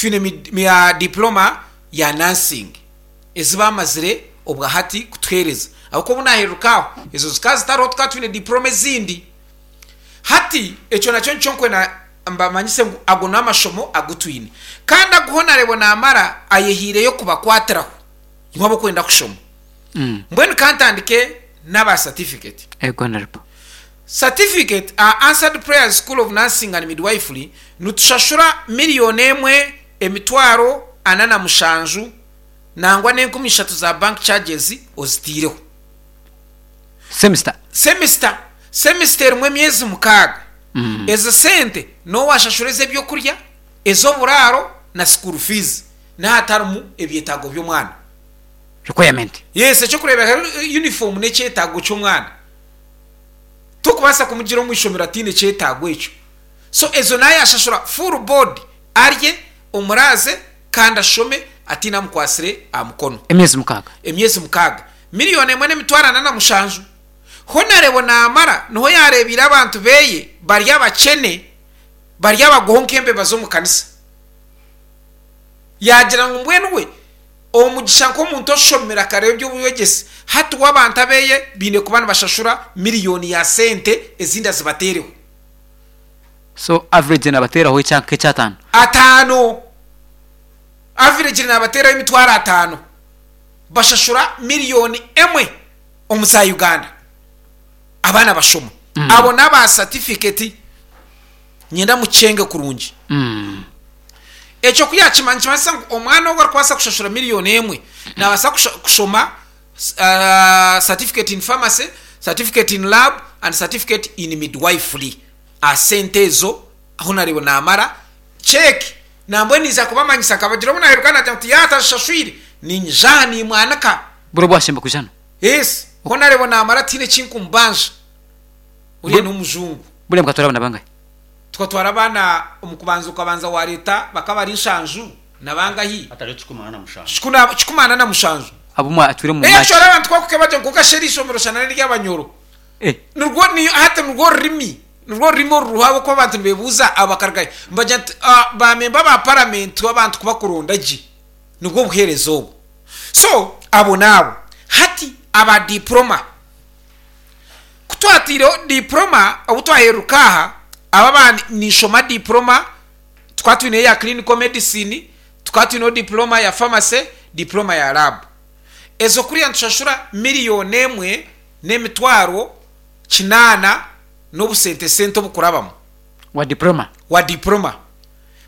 Twine diploma ya nursing ezi baamazire obwa hati kutuheereza. Ahabw'okuba obu naahereruka aho, ezo zikaba zitariho tukaba twine diploma ezindi. Hati ekyo nakyo nikyo nkwenda mbamanyise ngu ago n'amashomo agu twine. Kandi agu Honarebo naamara ayehaireyo kubakwatiraho imwe ab'okwenda kushoma. Mbwenu ka ntandike n'aba certificate. Ego Honorable. Certificate aha Answered Prayers School of Nursing and Midwifery nitushashura miriyoni emwe emitwaro ana na mushanju nangwa n'enkumi ishatu za bank charges ozitaireho. Semester. Semester. Semester erimu emyezi mukaaga. Ezo sente n'owashashura ez'ebyokurya, ez'oburaaro na school fees n'ahatarimu ebyetaago by'omwana. Requirement. Yes, eky'okureeberaho uniform n'ekyetaago ky'omwana. Tokubaasa kumugira omu ishomero ataine kyetaago ekyo. So ezo naayashashura full board arye, omuraaze kandi ashome ataine amukwatsire aha mukono. Emyezi mukaaga. Emyezi mukaaga. Miriyoni emwe n'emitwaro ana na mushanju. Honarebo naamara niho yaareebeire abantu beye bari abakyene, bari abagoho nk'embeba z'omu kanisa. Yaagira ngu mbwenu we Omugisha nk'omuntu oshomire akareeba eby'obwegyese, hati we abantu abeye baine kuba nibashashura miriyoni ya sente ezindi azibateereho. So average nabateeraho ekya nk'ekyataano? Ataano. Average nabateeraho emitwaro ataano. Bashashura miriyoni emwe omu za Uganda. Abaana bashoma. Abo n'aba satifiketi. Nyenda mukyenge kurungi. Ekyo ku yaakimanya nikimanyisa ngu omwana ogwo arikubaasa kushashura miriyoni emwe naabaasa kushoma certificate in pharmacy, certificate in lab and certificate in midwifery aha sente ezo ahu naribo naamara cheque nambwenu naija kubamanyisa nkabagira obu naaheruka naagira ngu yaaba atazishashwire niinyija aha niimwanika. Buri obu washemba kwija hanu? Yes, honaarebo naamara tihaine eki nkumubanja oriya n'omujungu. Buriya mukatwara abaana bangahi? Tukatwara abaana omu kubanza okabanza wareeta bakaba bari nshanju na bangahi? Hatariho kikumi ana na mushanju. Kikumi ana na mushanju. Abu mwatwire omu Eeh March. actually abantu ku bakuba bagye kwonka shi eri ishomero shana n'ery'abanyoro. Eh. Nirwo ni hati nirwo rurimi nirwo rurimi oruriho ahabw'okuba abantu nibebuuza aba bakaruga hi? Nibagira nti ba memba ba paramenti abantu kubakuronda gye nibwo buheereza obu. So abo n'abo. Hati aba diploma. Ku twataireho diploma obu twaheruka aha, aba aba ninshoma diploma tukaba twineyo eya clinical medicine, tukaba twineho diploma ya pharmacy, diploma ya lab. Ezo kuriya nitushashura miriyoni emwe n'emitwaro kinaana n'obusente sente obukurabamu. Wa diploma? Wa diploma.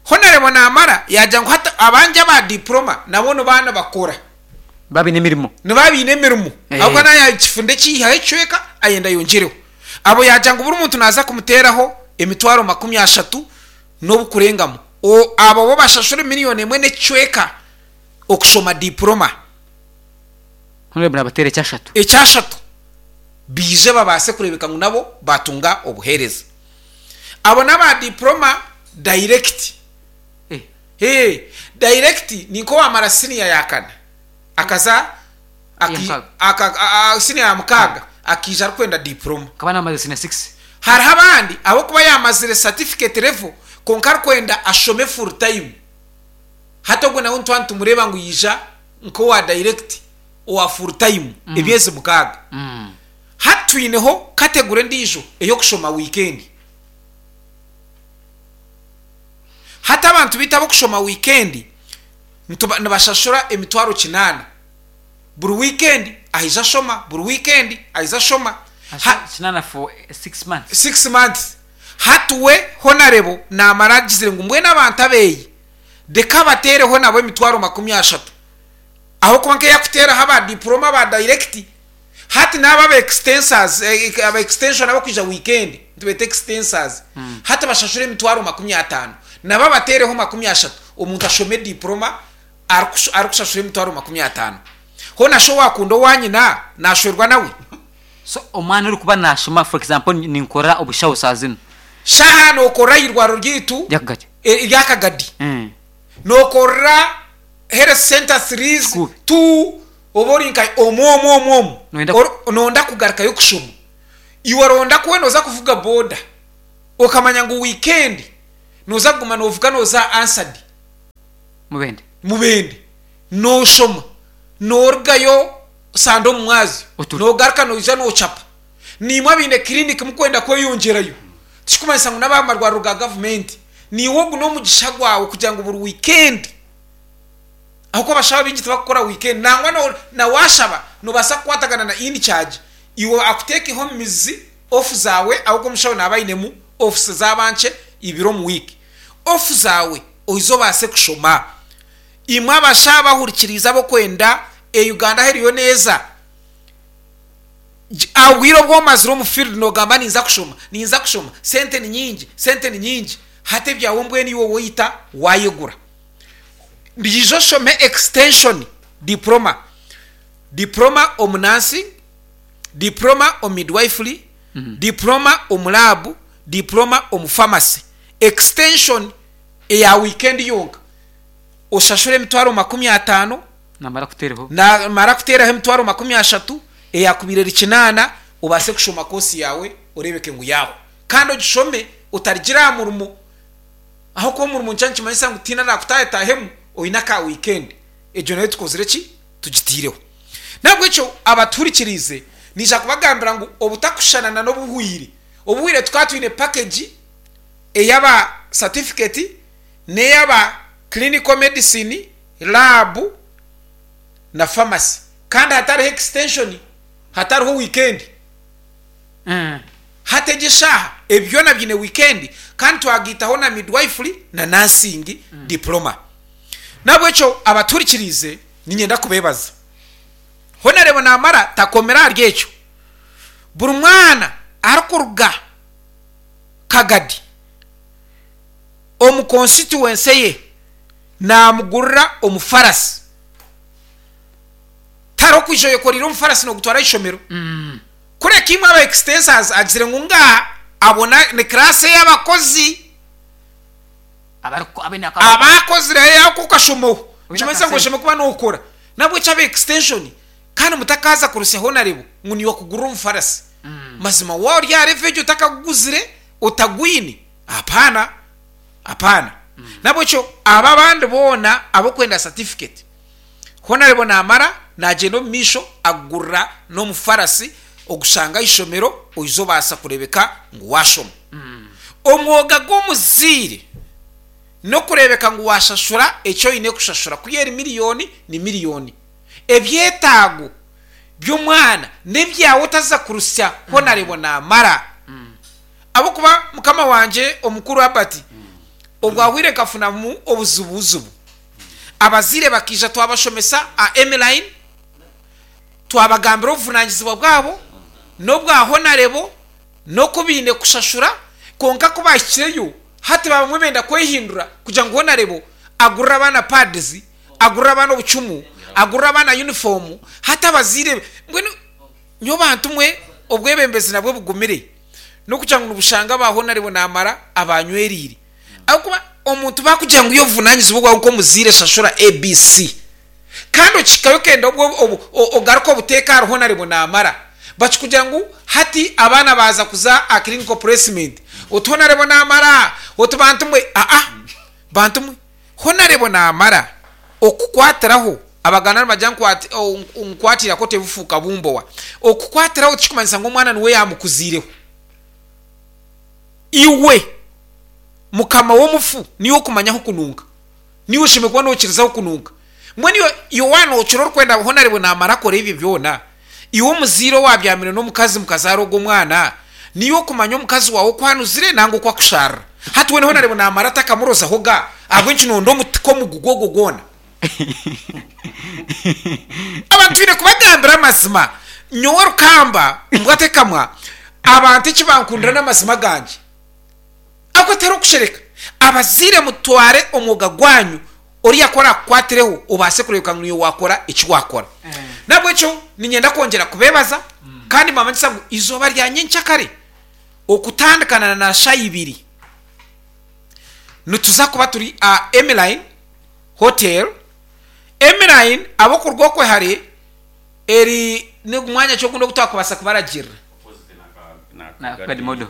Honarebwa namara yaagira ngu hati abangi aba diploma nabo nibaaba nibakora. Nibaaba baine emirimo. Nibaaba baine emirimo. Ahabw'okuba naaba yaakifunda ekiihaho ekicweka ayenda ayongyereho. Abo yaagira ngu buri muntu naaza kumuteeraho emitwaro makumi ashatu n'obukurengamu. Abo bo bashashure miriyoni emwe n'ekicweka okushoma diploma. Honourable naabateera ekyashatu. Ekyashatu. Baije babaase kureebeka ngu nabo baatunga obuheereza. Abo n'aba diploma direct. Ee, direct ni nk'owaamara siniya ya kana akaza siniya ya mukaaga akaija arikwenda diploma. Akaba naamazire siniya six. Hariho abandi ahabw'okuba yaamazire certificate level kwonka arikwenda ashome full time. Hati ogwo nawe nituba nitumureeba ngu yaija nk'owa direct owa full time emyezi mukaaga. Hati twineho category endiijo ey'okushoma wiikendi. Hati abantu baitu ab'okushoma wiikendi nibashashura emitwaro kinaana. Buri wiikendi aija ashoma, buri wiikendi aija ashoma. Kinaana for six months. Six months. Hati we Honarebo naamara agizire ngu mbwenu abantu abeeyi reka abateereho nabo emitwaro makumi ashatu. Ahabw'okuba nk'eyakuteeraho aba diploma aba direct, Hati n'abo aba extensors, aba extension abakwija weekend, nitubeeta extensors, hati bashashura emitwaro 50, nabo abateereho 30, omuntu ashome diploma arikushashura emitwaro 50. Hoona shi owaakunda owaanyina naashwerwa nawe? So omwana orikuba naashoma for example ninkora obushaho saaha zinu. Shaaha nookorera aha irwariro ryaitu Ry'akagadi. ry'akagadi. Nookorera health centre threes, Kikuubi. two, Oba ori nka omu omu omu omu Noyenda or noyenda kugarukayo kushoma. Iwe oronda ku nooza kuvuga boda okamanya ngu wiikendi nooza kuguma noovuga nooza aha Ansadi. Mubende. Mubende. Nooshoma, noorugayo Sande omu mwazyo, Oture. noogaruka noija noocapa. Naimwe abaine kiriniki mukwenda kweyongyerayo, tikikumanyisa ngu n'ab'aha marwariro ga gavumenti. Naiwe ogu n'omugisha gwawe kugira ngu buri wiikendi, ahabw'okuba abashaho abaingi tibakukora wiikendi, nangwa no- na waashaba noobaasa kukwatagana na in-charge iwe akuteekeho omu mizi off zaawe ahabw'okuba omushaho naaba ainemu offs zaaba nkye ibiri omu wiiki. Off zaawe oize obaase kushoma. Imwe abashaho abahurikiriize ab'okwenda e Uganda ahu eriyo neeza, Obwire obu omazire omu field nogamba ninza kushoma, ninza kushoma, sente ni nyingi, sente ni nyingi, hati ebyawe mbwenu iwe waita wayegura. Ija oshome extension diploma, diploma omu nursing, diploma omu midwifery, diploma omu lab, diploma omu pharmacy. Extension eya weekend yonka oshashure emitwaro 50. Namara kuteeraho. Namara kuteeraho emitwaro 30, eyaakubaire eri kinaana, obaase kushoma koosi yaawe oreebeke ngu yaahwa. Kandi ogishome otarigira aha murimo. Ahabw'okuba omurimo nikyo nikimanyisa ngu tihaine araakutaahetaahemu oine aka wiikendi. Egyo nayo tukozire ki? Tugitaireho. N'ahabw'ekyo abatuhurikiriize, naija kubagambira ngu obutakushushana na n'obuhwire. Obuhwire tukaba twine pakegi ey'aba satifiketi n'ey'aba clinical medicine, laabu na famasi kandi hatariho ekisitenshoni, hatariho wiikendi. Hati egi eshaaha ebi byona biine wiikendi kandi twagaitaho na midwifery na nursing diploma. N'ahabw'ekyo abatuhurikiriize niinyenda kubeebaza. Honourable naamara takomire ahari ekyo. Buri mwana arikuruga Kagadi omu constituency ye naamugurira omufarasi. Tihariho kwija oyekoreire omufarasi noogutwara aha ishomero. Kureka imwe aba extensors agizire ngu ngaha abo ni class ey'abakozi abaakozireyo ako okashomaho. Nikimanyisa ngu oshemereire kuba nookora. N'ahabw'ekyo aba extension kandi mutakaaza kurusya honarebo ngu niiwe akugurira omufarasi. Mazima waaba ori aha level egyo otakaguguzire, otagwine, hapana. Apana. N'ahabw'ekyo abo abandi boona ab'okwenda satifiketi, Honarebo naamara naagyenda omu maisho akugurira n'omufarasi ogushanga aha ishomero oize obaasa kureebeka ngu waashoma. Omwoga gw'omuzaire n'okureebeka ngu waashashura eki oine kushashura ku eri miriyoni ni miriyoni. Ebyetaago by'omwana n'ebyawe otaza kurusya Honarebo naamara. Ahabw'okuba mukama wangye omukuru Albert obwahwire nkafunamu obuzibuzibu. Abazaire bakaija twabashomesa aha Emmeline, twabagambira obuvunanyizibwa bwabo n'obwa Honarebo n'oku baine kushashura kwonka ku baahikireyo hati baaba bamwe benda kwehindura kugira ngu Honarebo agurire abaana pads, agurire abaana obucumu, agurire abaana yunifoomu hati abazaire mbwenu nyowe bantu mwe obwebembezi nabwo bugumire. N'okugira ngu nibushanga aba Honarebo naamara abanywereire. Ahabw'okuba omuntu baakugira ngu iwe obuvunanyizibwa bwawe nk'omuzaire shashura ABC. Kandi okihikayo okenda ogaruke obuteeke ahari Honarebo naamara. Bakikugira ngu hati abaana baaza kuza aha clinical placement. Oti Honarebo naamara! Oti bantu mwe! Aa! Bantu mwe! Honarebo naamara okukwatiraho, Abaganda nibagira ngu nkwatira tebufuuka bumbowa. Okukwatiraho tikikumanyisa ngu omwana niwe yaamukuziireho. Iwe mukama w'omufu niiwe okumanya ahu kununka. Niiwe oshemereire kuba nookiriza ahu kununka. Mbwenu iwe iwe waaba nookira orikwenda Honarebo naamara akora ebyo byona, iwe omuzaire owaabyamire n'omukazi mukazaara ogwo mwana, niiwe okumanya omukazi waawe oku anuzire nanga oku akusharira. Hati weena Honarebo naamara atakamurozaho ga, ahabw'enki noonda omutiko omugugu ogwo gwona? Abantu twine kubagambira amazima. Nyowe Rukamba mbwa tekamwa, abantu eki bankundira n'amazima gangye. Ahabw'okuba tihariho kushereka. Abazaire mutware omwoga gwanyu oriya ku arakukwatireho obaase kureebeka ngu niiwe waakora eki waakora. N'ahabw'ekyo niinyenda kwongyera kubeebaza kandi mbamanyisa ngu eizooba rya nyenkyakare okutandikana na shaaha ibiri nituza kuba turi aha Emmeline Hotel. Emmeline ab'okuruga okwe hare eri ni mwanya ki ogundi ogu twakubaasa kubaragirira? Na Kagadi Model.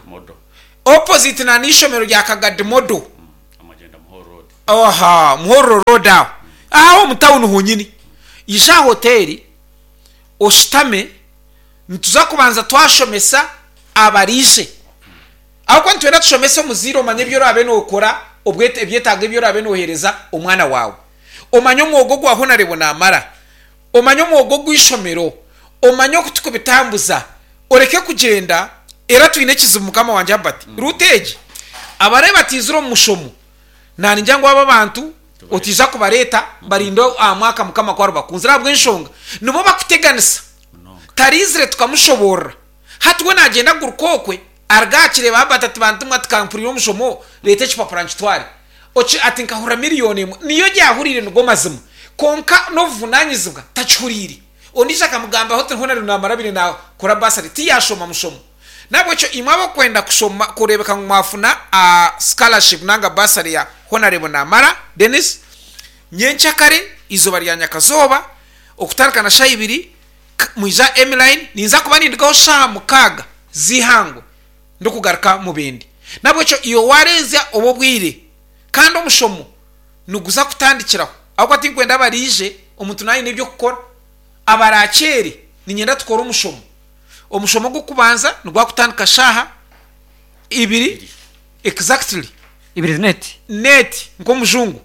Opposite na n'eishomero rya Kagadi Model. Aha Muhorro Road aho. Aho omu tawuni honyini. Ija aha hoteeri oshutame, nituza kubanza twashomesa abariije. Ahabw'okuba nitwenda tushomese omuzaire omanye ebi oraabe nookora, ebyetaago ebi oraabe nooheereza omwana waawe. Omanye omwoga ogwa Honarebo naamara, omanye omwoga ogw'eishomero, omanye oku tukubitambuza, oreke kugyenda era twine ekizibu mukama wangye Herbert. Ruutu egi, abaraabe bataizire omu mushomo, naningira ngu abo abantu otaija kubareeta barinde aha mwaka mukama ku aribakunzire ahabw'enshonga nibo bakuteganisa. Taraizire tukamushoboorora. Hati we naagyenda aguruka okwe, aruga aha kireeba Herbert ati bantumwe ati ka mpurire omushomo, reeta ekipapura nkitware. Oki ati nkahurira miriyoni emwe. Niyo yaahuriire nigo mazima. Kwonka n'obuvunanyizibwa takihuriire. Ondiijo akamugambaho ati hoona ariyo naamara abire naakora bursary tiyaashoma mushomo. N'ahabw'ekyo imwe abarikwenda kushoma kureebeka ngu mwafuna scholarship nanga bursary ya Honarebo Namara Denis, nyenkyakare eizooba rya nyakazooba okutandika na shaaha ibiri mwija Emline, ninza kuba nindugaho shaaha mukaaga z'eihangwe ndikugaruka Mubende. N'ahabw'ekyo iwe waareenzya obu obwire kandi omushomo niguza kutandikiraho ahabw'okuba tinkwenda abaraije omuntu naaba aine eby'okukora abaraakyere niinyenda tukore omushomo. Omushomo ogw'okubanza nigwakutandika shaaha ibiri exactly. Ibiri net. Net nk'omujungu.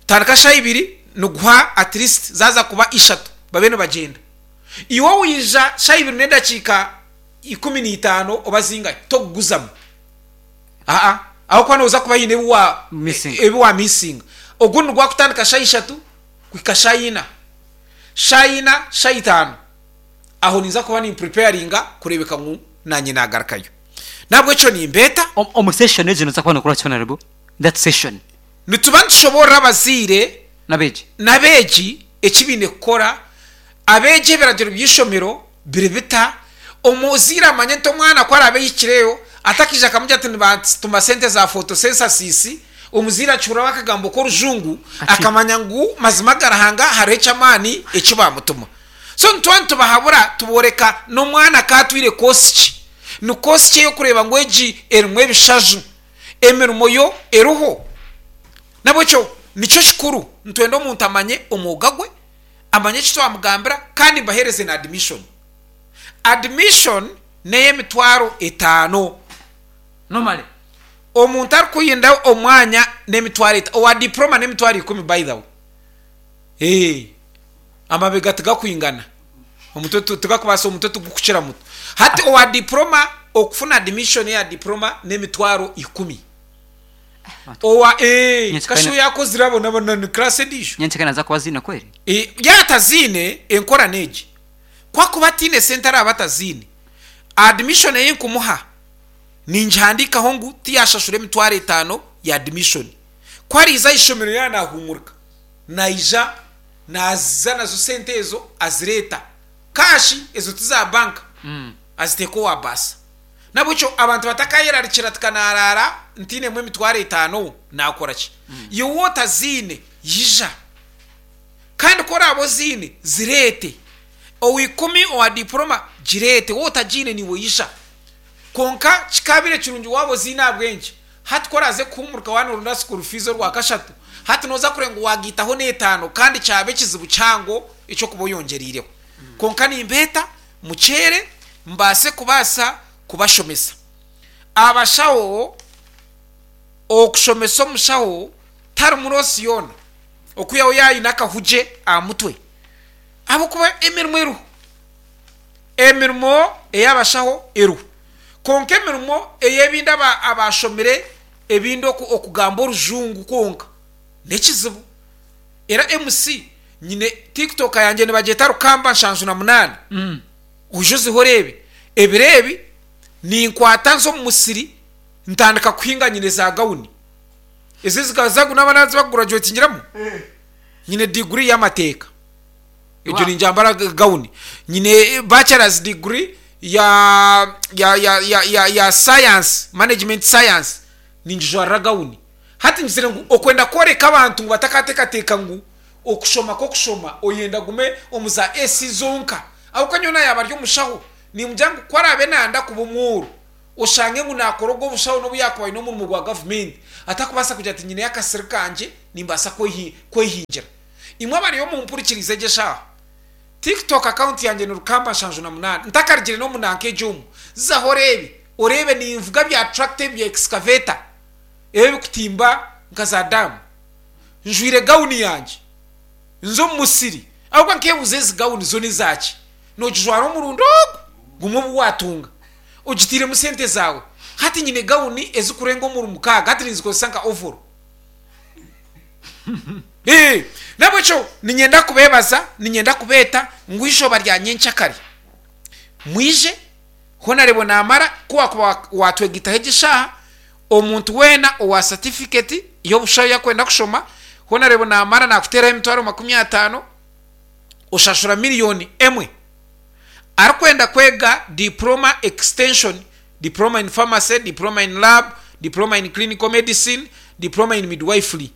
Tandika shaaha ibiri niguha at least zaaza kuba ishatu babe nibagyenda. Iwe waija shaaha ibiri n'edakiika 15 oba zingahi tokuguzamu. Aa ahabw'okuba nooza kuba haine ebi wa Missing. ebi wa missinga. Ogundi nigwakutandika shaaha ishatu kuhika shaaha ina. Shaaha ina, shaaha itaano. Aho ninza kuba nimpreparinga kureebeka ngu naanye naagarukayo. N'ahabw'ekyo nimbeeta. Omu session egyo noza kuba nokora ki Honourable? That session. Nituba nitushoboorora abazaire N'abeegi. n'abeegi eki baine kukora. Abeegi ebiragiro by'eishomero biri bita? Omuzaire amanye nti omwana ku araabe ahikireyo atakaija akamugira ati nibatuma sente za photosynthesis, omuzaire akihuriraho akagambo k'orujungu akamanya ngu mazima ga Ruhanga hariho eky'amaani eki baamutuma. So nituba nitubahabura tubooreka n'omwana ka atwire koosi ki. Ni koosi ki ey'okureeba ngu egi erimu ebishaju, emirimo yo eriho. N'ahabw'ekyo nikyo kikuru, nitwenda omuntu amanye omwoga gwe, amanye eki twamugambira kandi mbaheereze na admission. Admission n'ey'emitwaro etaano. Normally. Omuntu arikuyinda omwanya n'emitwaro etaano, owa diploma n'emitwaro ikumi by the way. Eeh. Amabega tigakwingana, omutwe tigakubaasa omutwe tigukukira muto. Hati owa diploma okufuna admission eya diploma n'emitwaro ikumi. Owa eeh Nyenkyakare kasha oyakozire abo nabo na ni class endiijo. Nyenkyakare naza kuba aziine kweri? Eh, yaaba ataziine enkora n'egi. Ku akuba ataine sente araaba ataziine, admission ei nkumuha ningihandiikaho ngu tiyashashura emitwaro etaano ya admission. Ku ariiza aha ishomero yaaba naahuumurika, naija Naaziza nazo sente ezo azireeta kaashi ezo ti za banka aziteeka owa baasa. N'ahabw'ekyo abantu batakayerarikira ati ka naaraara ntainemu emitwaro etaano naakora ki? Iwe waaba otaziine ija. Kandi ku oraabe oziine zireete. Owa ikumi owa diporoma gireete waaba otagiine naiwe ija. Kwonka kikaabaire kirungi waaba oziine ahabw'enki? Hati ku oraaze kuhuumurika waaba nooronda school fees orwakashatu, hati nooza kureeba ngu waagaitaho n'etaano kandi kyaba ekizibu kihango eky'okuba oyongyereireho. Kwonka nimbeeta mukyere mbaase kubaasa kubashomesa. Abashaho, okushomesa omushaho tarimu loss yoona okwihaho yaaba aine akahugye aha mutwe ahabw'okuba emirimo eriho. Emirimo ey'abashaho eriho. Kwonka emirimo ey'ebindi abaashomire ebindi okugamba orujungu kwonka n'ekizibu. Era MC nyine TikTok yangye nibagyeta Rukamba 78 oije ozihe oreebe. Ebiro ebi ninkwata nza omu musiri ntandika kuhinga nyine za gawuni. Ezi ezi n'abaana bakugurajuwetingiramu nyine diguri y'amateeka. Egyo ningyambara gawuni. Nyine bachelor's degree ya ya ya ya ya ya science, management science, ningijwarira gawuni. Hati ngizire ngu okwenda kworeka abantu ngu batakateekateeka ngu okushoma kw'okushoma oyenda ogume omu za AC zonka. Ahabw'okuba nyowe naayaba ari omushaho, nimugira ngu ku araabe naayenda kuba omworo, Oshange ngu naakora ogwo obushaho n'obu yaakuba aine omurimo gwa gavumenti, atakubaasa kugira ati nyineyo akasiri kangye nimbaasa kwehingira. Imwe abariyo mumpurikiriize egi eshaaha, TikTok account yangye ni Rukamba 78, ntakarugire n'omu nanka egi omu, zaho oreebe, oreebe ninvuga bya tractor ebi bya excavator ebi ebikutimba nka za daamu, njwire gawuni yangye, nza omu musiri, ahabw'okuba nkeebuuza ezi gawuni zo n'ezaaki? Noogijwara omurundi ogu gumwe obu waatunga. Ogitairemu sente zaawe. Hati nyine gawuni ezikurenga omuri mukaaga, hati ninzikozesa nka ovoro. Ee, n'ahabw'ekyo niinyenda kubeebaza, niinyenda kubeeta ngu eizooba rya nyenkyakare mwije, Honarebo naamara, ku waakuba waatwegaitaho egi eshaaha, omuntu weena owa satifiketi y'obushaho ei arikwenda kushoma, Honarebo naamara naakuteeraho emitwaro 50, oshashura miriyoni emwe. Arikwenda kwega Diploma Extension, Diploma in Pharmacy, Diploma in Lab, Diploma in Clinical Medicine, Diploma in Midwifery.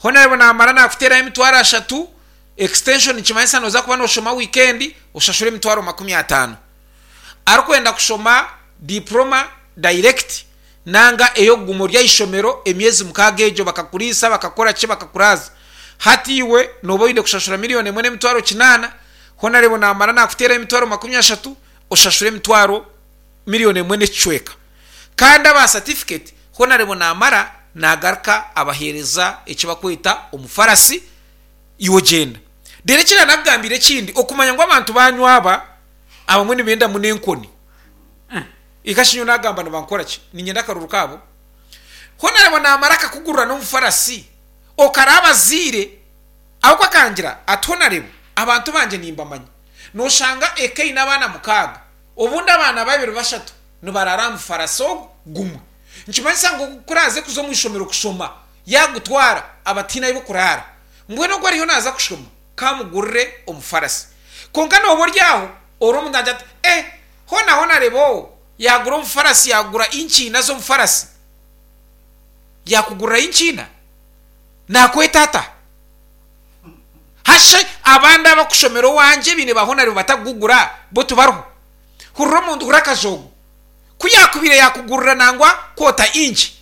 Honarebo namara nakuteeraho emitwaro ashatu, Extension nikimanyisa noza kuba noshoma wiikendi oshashure emitwaro 50. Arikwenda kushoma Diploma Direct nanga ey'okuguma ori aha ishomero emyezi mukaaga egyo bakakuriisa, bakakora ki, bakakuraaza. Hati iwe nooba oine kushashura miriyoni emwe n'emitwaro kinaana, hoona reeba naamara naakuteeraho emitwaro 30, oshashure emitwaro miriyoni emwe n'ekicweka. Kandi aba satifiketi hoona reeba naamara naagaruka abaheereza eki barikweta omufarasi, iwe ogyenda. Reero eki naanakugambiire ekindi, okumanya ngu abantu baanyu aba abamwe nibenda muno enkoni. Eka shi nyowe naagamba nibankora ki? Niinyenda akaruru kaabo. Hoona reeba naamara akakugurira n'omufarasi, okara abazaire, ahabw'okuba akangira ati, Hoona reeba, abantu bangye nimbamanya. Nooshanga eka eine abaana mukaaga, obundi abaana babiri bashatu nibaraara aha mufarasi ogwo gumwe. Nikimanyisa ngu ku oraaze kuza omu ishomero kushoma, yaagutwara, aba ataine ahu b'okuraara. Mbwenu ogwo ariyo naaza kushoma, kaamugurire omufarasi. Kwonka nooba ori aho, ori omuntu naagira ati, Eh! Hoona hoona reeba oo, yaagura omufarasi, yaagura inkiina z'omufarasi. Yaakugurira inkiina? Naakweta ata? Hashe abandi abakushomera owangye baine ba hoona reeba batakugugura, bo tibariho. Hurira omuntu, hurira akajoogo. Ku yaakubaire yaakugurira nangwa kwota inki,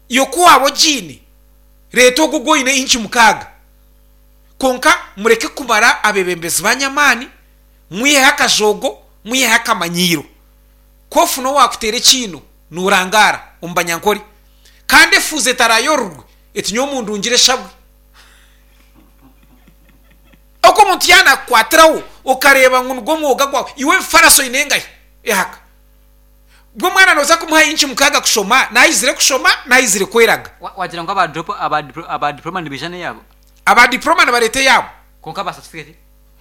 iwe ku waaba ogiine, reeta ogwo ogu oine inki mukaaga. Kwonka mureke kumara abeebembezi baanyu amaani. Mwiheho akajoogo, mwiheho akamanyiiro. Ku ofuna owaakuteera ekiino, noorangaara omu banyankore. Kandi efuuzi etaraayororwe, eti nyowe mundungire eshabwe. Oku omuntu yaanakukwatiraho, okareeba ngu nigwo mwoga gwawe, iwe ebifarasi oine engahi? Ehaka. Bwo omwana nooza kumuha inci mukaaga kushoma, naayizire kushoma, naayizire kweraga. Wagira ngu aba diploma nibaija n'eyaabo? Aba diploma nibareeta eyaabo. Kwonka aba certificate?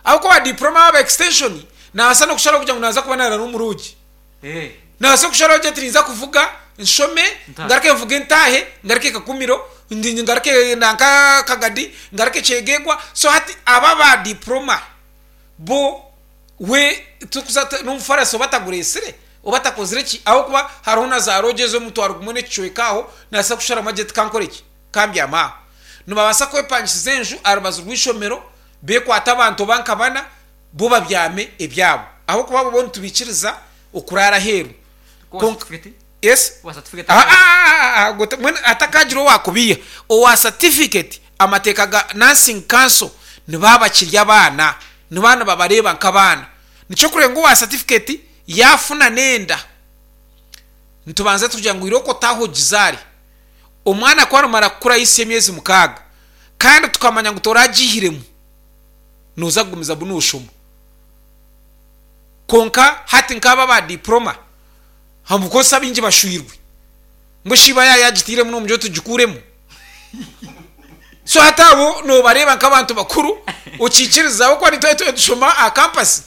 Ahabw'okuba diploma aba extension nabaasa n'okusharaho kugira ngu naaza kuba naaraara omu lodge. Nabaasa kusharaho agira ati ninza kuvuga nshome ngaruke nvuge ntaahe ngaruke Kakumiro ngaruke nanka Kagadi ngaruke Kyegegwa. So hati aba aba diploma bo we tikuza n'omufarasi oba atagureetsire oba atakozire ki ahabw'okuba hariho na za lodge ez'omutwaro gumwe n'ekicweka aho nabaasa kusharamu agira ati kankore ki kambyame aho. Nibabaasa kwepangisiza enju aha rubaju rw'eishomero Beekwate abantu oba nka bana, bo babyame ebyabo. Ahabw'okuba abo bo nitubaikiriza okuraara aheeru. Kwonka, yes? Mbwenu hatakaagira owaakubiiha, owa satifiketi, amateeka ga Nursing Council nibaba bakiri abaana, nibaba nibabareeba nk'abaana. Nikyo orikureeba ngu owa satifiketi yaafuna n'enda, nitubanza tugira ngu irooko otaahe ogizaare. Omwana ku arimara kukura ahisya emyezi mukaaga, kandi tukamanya ngu toragiihiremu, nooza kugumizamu nooshoma. Kwonka hati nk'abo aba diploma, ahabw'okuba abaingi bashwirwe, mbwenu shi iba yaaba yaagitairemu nomugira oti gikuuremu? So hati abo noobareeba nk'abantu bakuru, okiikiriza ahabw'okuba nitwe twaba nitushoma aha kampasi,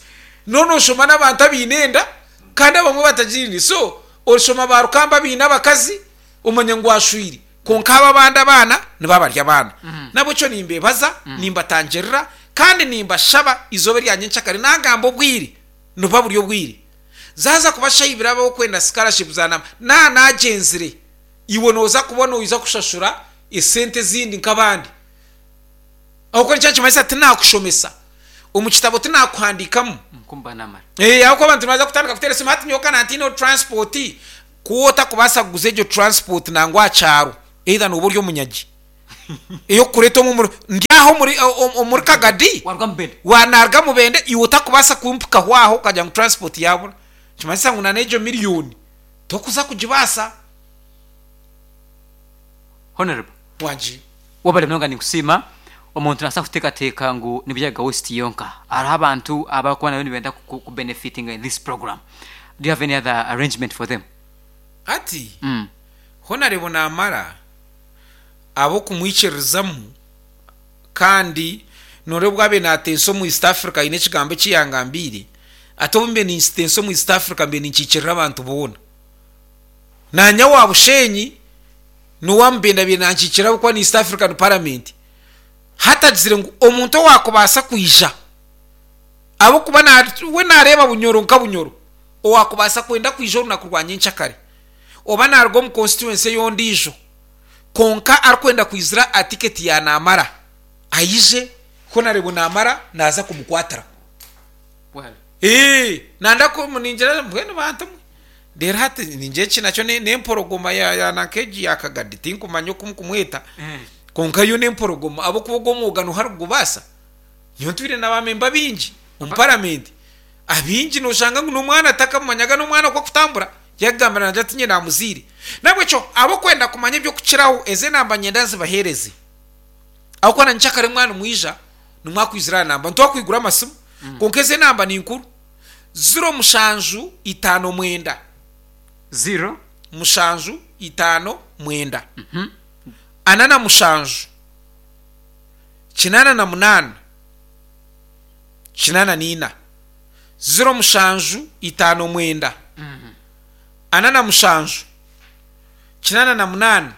noona nooshoma n'abantu abaine enda kandi abamwe batagiine. So orishoma ba rukamba abaine abakazi, omanye ngu ashwire. Kwonka abo abandi abaana nibaba bari abaana. N'ahabw'ekyo nimbeebaza, nimbatangirira, kandi nimbashaba eizooba erya nyencakare naagamba obwire, nibuba buri obwire. Zaaza kuba shaaha ibiri ab'okwenda scholarship za namba, naaba naagyenzire, iwe nooza kuba noija kushashura esente ezindi nk'abandi. Ahabw'okuba nikyo nikimanyisa tinaakushomesa. Omu kitabo tinakuhandiikamu. Nkumba namara. Ee, ahabw'okuba abantu nibaza kutandika kuteera esimu hati nyowe ka nantiineho transport. Ku otakubaasa kuguza egyo transport nangwa aha kyaro, either nooba ori omunyagi ey'okukureeta omu omuri ndi aha omuri omuri Kagadi, Waruga Mubende. wa naruga Mubende iwe otakubaasa kumpikaho aho okagira ngu transport yaabura, nikimanyisa ngu na n'egyo miriyoni tokuza kugibaasa. Honourable. Wangi. Webale munonga ninkusiima. Omuntu nabaasa kuteekateeka ngu ni Buyaga West yonka. Hariho abantu abarikuba nabo nibenda ku benefitinga in this program. Do you have any other arrangement for them? Hati Honarebo naamara ab'okumwikiririzamu kandi nooreeba obu abaire naatensa omu East Africa haine ekigambo eki yangambiire ati obu mbaire nintensa omu East Africa mbaire ninkiikirira abantu boona. Naanye owa Bushenyi n'owa Mubende abaire nankiikirira ahabw'okuba ni East African Parliament. Hati agizire ngu omuntu owaakubaasa kwija ahabw'okuba we naareeba Bunyoro nka Bunyoro, owaakubaasa kwenda kwija orunaku rwa nyenkyakare oba naaruga omu constituency ey'ondiijo kwonka arikwenda kwizira aha tiketi ya Naamara aije Honarebo Naamara naaza kumukwatiraho. Eeh nanda ku ningira mbwenu bantu mwe reero hati ningira eki nakyo n'emporogoma ya nanka egi ya Kagadi tinkumanya oku mukumweta kwonka yo n'emporogoma ahabw'okuba ogwo omwoga nooha arikugubaasa? Nyowe ntwire na baamemba baingi omu paramenti abaingi nooshanga ngu n'omwana takamumanyaga n'omwana oku akutambura yakugambira naagira ati nyine naamuzaire. N'ahabw'ekyo ab'okwenda kumanya eby'okukiraho ezi enamba niinyenda nzibaheereze ahabw'okuba na nyenkyakare mwaba nimwija nimwakwizira aha namba nitwakwigura amasimu kwonka ezi enamba ni nkuru ziro mushanju itaano mwenda Ziro. mushanju itaano mwenda ana na mushanju 88 84 07 59 47 88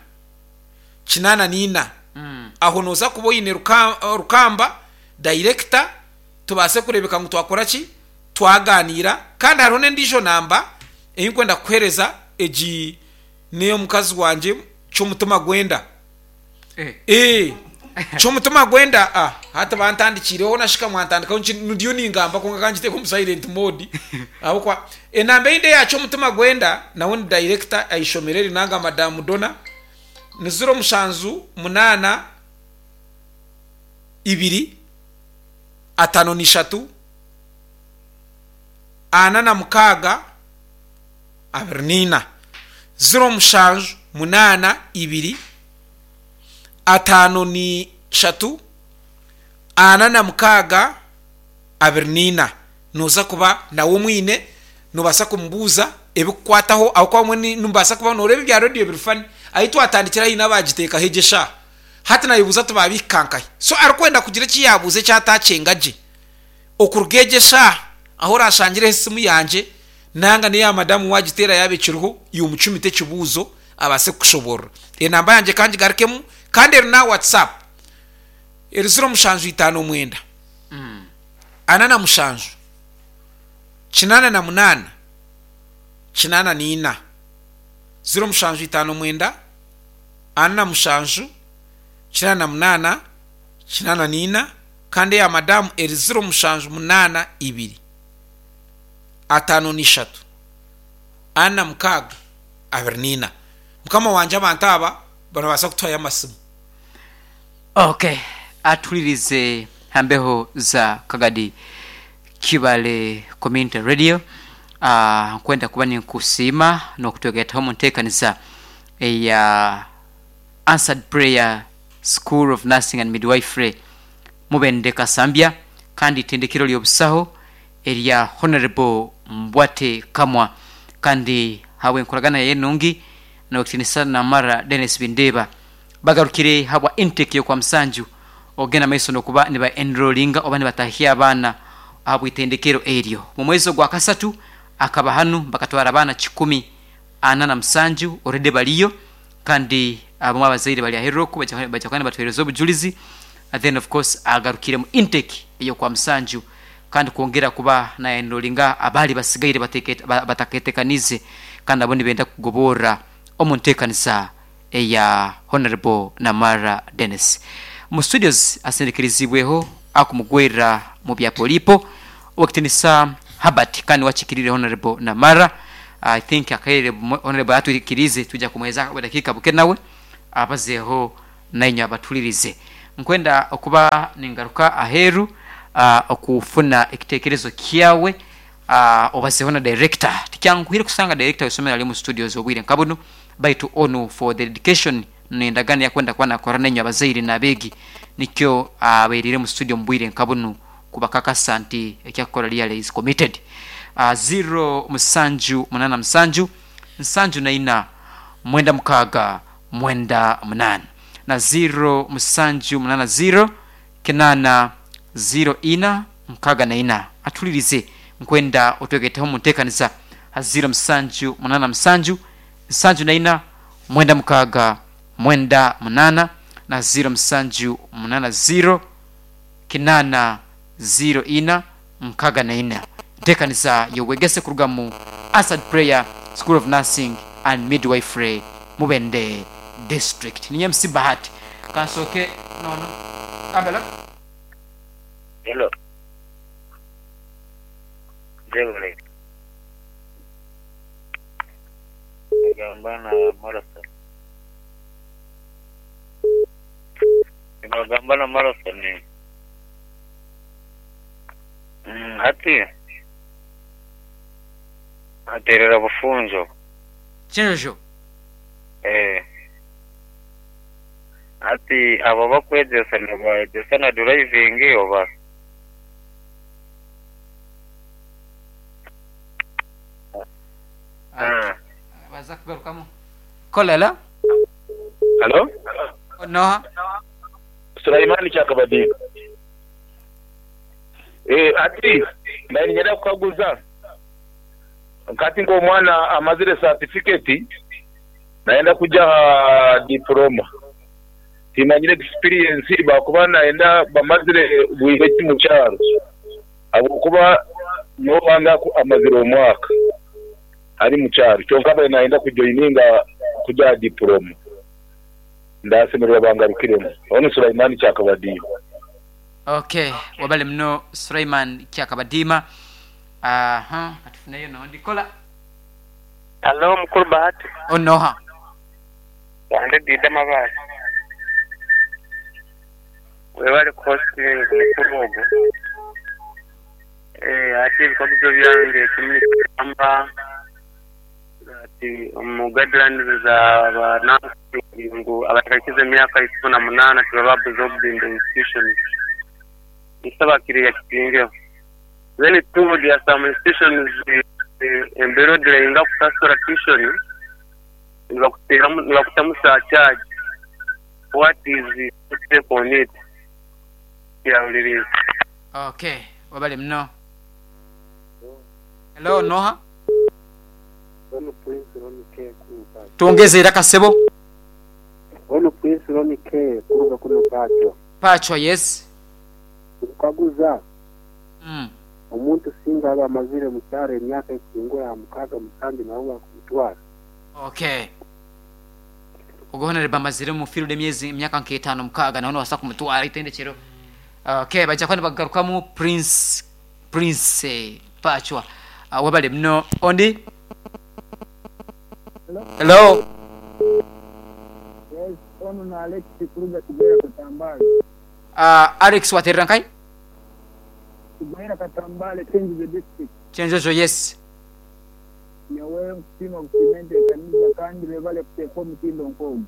84 Aho nooza kuba oine Rukamba dayirekita tubaase kureebeka ngu twakora ki, twagaaniira. Kandi hariho n'endiijo namba ei ndikwenda kukuheereza, egi n'ey'omukazi wangye Ky'omutima Gwenda. Ee, ky'omutima gwenda ah, hati bantandikiireho nashika mwantandikaho nki ndiyo ningamba kwonka ka ngiteeke omu silent mode ahabw'okuba enamba eyindi eya ky'omutima gwenda nawe ni director aha ishomero eri nanga Madam Donna ni ziro mushanju munaana ibiri atano n'ishatu ana na mukaaga 24 07 8 2 53 46 24 Nooza kuba nawe omwine, noobaasa kumubuuza ebikukwataho ahabw'okuba obumwe nimubaasa kuba nooreeba ebya rediyo biri funny. Ahu twatandikira haine abaagiteekaho egyo eshaaha. Hati naayebuuza ati baabihika nkahi? So arikwenda kugira eki yaabuuza eki ataakyenga gye. Okuruga egyo eshaaha ahu oraashangireho esimu yangye nanga n'eya madamu waagiteera yaaba ekiriho, iwe omucumite ekibuuzo abaase kukushoboorora. Enamba yangye ka ngigarukemu kandi eri n'aha WhatsApp. Eri 0759 47 88 84. 0759 47 88 84 kandi eya madamu eri 0782 53 46 24. Mukama wangye abantu aba barabaasa kutuhayo amasimu. Ok atuhuririze ha mbeho za Kagadi Kibale Community Radio. Ah, nkwenda kuba ninkusiima n'okutwegaitaho omu nteekaniza eya Answered Prayer School of Nursing and Midwifery Mubende Kasambya kandi itendekero ly'obusaho erya Honourable Mbwate Kamwa kandi habw'enkoragana yaye enungi n'owekitinisa Namara Denis Bindeeba bagarukire habwa intake y'okwamusanju okugenda maiso n'okuba niba enrollinga oba nibatahya abaana ahabw'itendekero eryo. Mu mwezi ogwakasatu akaba hanu bakatwara abaana 407 already bariyo kandi abamwe abazaire bari aheru oku baija kuba nibatuhereza obujurizi then of course agarukire mu intake ey'okwamusanju kandi kwongera kuba na enrollinga abaali basigaire bataketekaniize kandi nabo nibenda kugoborra omu ntekanisa eya Honourable Namara Denis. Omu studios asindikirizibweho akumugwerera mu bya Polipo Owekitinisa Herbert kandi niwe akikiriire Honourable Namara. I think akaire Honourable atwikiriize twija kumuheeza obudakiika buke nawe abazeeho nainywe abatuhuririze. Nkwenda okuba ningaruka aheeru okufuna ekitekerezo kyawe obazeeho na Director. Tikyanguhire kusanga Director w'eisomero ari omu studios obwire nka bunu baitu onu for the dedication n'endagaano ei akwenda kuba nakora nainywe abazaire n'abeegi nikyo abairiire omu studio omu bwire nka bunu kubakakasa nti eki akukora really is committed. Ziro musanju munana musanju nsanju na ina mwenda mukaaga mwenda munaana na ziro musanju munana ziro kinaana ziro ina nkaaga na ina. Atuhuririze nkwenda otwegaiteho omu nteekaniza ha ziro musanju munana musanju nsanju na ina mwenda mukaaga mwenda munaana na ziro musanju munana ziro kinaana ziro ina nkaaga na ina. Enteekaniza y'obwegese kuruga mu Answered Prayer School of Nursing and Midwifery Mubende District. Ninye MC Bahati. Kansooke n'ono. Hello. Hello. Jebale. Nibagamba na Marathon. Nibagamba na Marathon. Hati aterera Bufunjo. Kyenjojo. Eh. Hati abo abakwegyesa nibayegyesa na driving oba? Baza kugarukamu. Kola hello. Halo. Noha? Sulaimani Kyakabadinga. Eh, ati naye niinyenda kukaguza nkati nk'omwana amazire satifiketi nayenda kuja aha diporoma timanyire ekisipiriyensi bakuba nayenda bamazire bwire ki mu kyaro ahabw'okuba nyowe owange amazire omwaka ari mu kyaro kyonka abaire nayenda kujoyininga kuja aha diporoma ndasemererwa bangarukiremu. Onu Sulaimani Kyakabadiima. Ok webale muno Sulaiman Kyakabadiima. Aha katufuneyo nondi kola. Halo mukulu Bahati. Onoha? Wange Dida Mabaale. Webale ku hosting mukulu ogwo. Eeh ati ebikaguzo byange ekimwe nikigamba ati omu guidelines za ba nursing ngu abatakahikize emyaka ikumi na munaana tibaba absorbed in the institutions. Nsaba kiriya kitingeho. Then two, there are some institutions embeera odilayinga kusasura tuition nibakuteramu nibakutamu surcharge. What is your take on it? Kyahuririize. Ok webale muno. Hello noha? Ono Prince Ronnie K kuruga. Twongeze eiraka ssebo. Ono Prince Ronnie K kuruga kuno Pachwa. Pachwa yes. Nkukaguza, omuntu singa aba amazire mu kyaro emyaka ekuhingura aha mukaaga musanju nawe bakumutwara? Ok. Ogwo Honourable amazire omu field emyezi emyaka nka etaano mukaaga nawe nobaasa kumutwara eitendekyero. Ok baija kuba nibagarukamu Prince Prince Pachwa. Webale muno. Ondi? Hello. Yes, onu ni Alex kuruga Kigwera Katambale. Alex waterera nkahi? Kigwera Katambale, Kyenjojo district. Kyenjojo yes. Nyowe nkusiima kusiima enteekaniza kandi bebale kuteeka omutindo nk'ogu.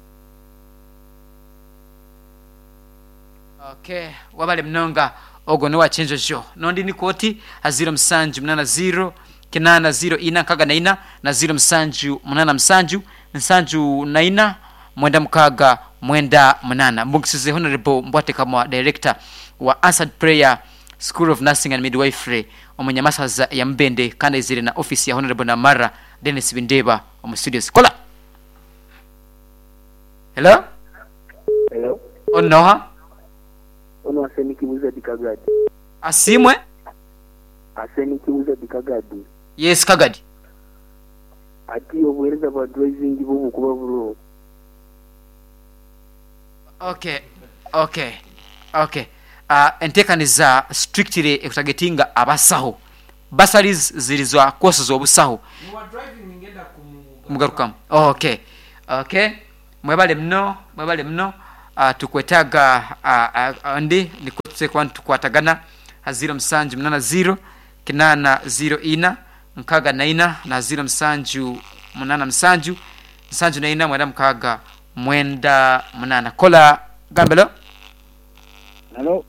Ok wabale munonga ogwo nowa Kyenjojo. Nondi nikwo oti aha ziiro musanju munana ziiro kinaana ziiro ina nkaga na ina na ziiro musanju munana musanju nsanju na ina mwenda mukaaga mwenda munaana. Mbugisize Honourable Mbwatekamwa Director wa Answered Prayer School of Nursing and Midwifery omu Nyamasaza eya Mubende kandi aizire na office ya Honourable Namara Denis Bindeeba omu studios. Kola! Hello? Hello. Onu noha? Onu Arsenic Wizard Kagadi. Asiimwe? Arsenic Wizard Kagadi. Yes Kagadi. Ati obuhereza bwa driving bwo bukuba buroho. Ok ok ok. Enteekaniza strictly ekutagetinga abasaho. Bursaries ziri za course z'obusaho. Kumugarukamu. Ok. Ok. Mwebale muno, mwebale muno. Tukwetaaga ondi nikwo tuteekwa kuba nitukwatagana ha ziiro musanju munana ziiro, kinaana ziiro ina, nkaaga na ina na ziiro musanju munana musanju, nsanju na ina mwenda mukaaga mwenda munana. Kola gambelo. Halo.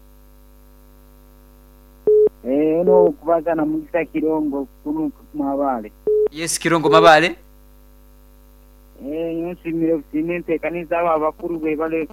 Eh, ono okubaza na Mugisa Kirongo kunu Mabale. Yes Kirongo Mabale. Eh, nyowe nsiimire busiime enteekaniza abo abakuru bebale.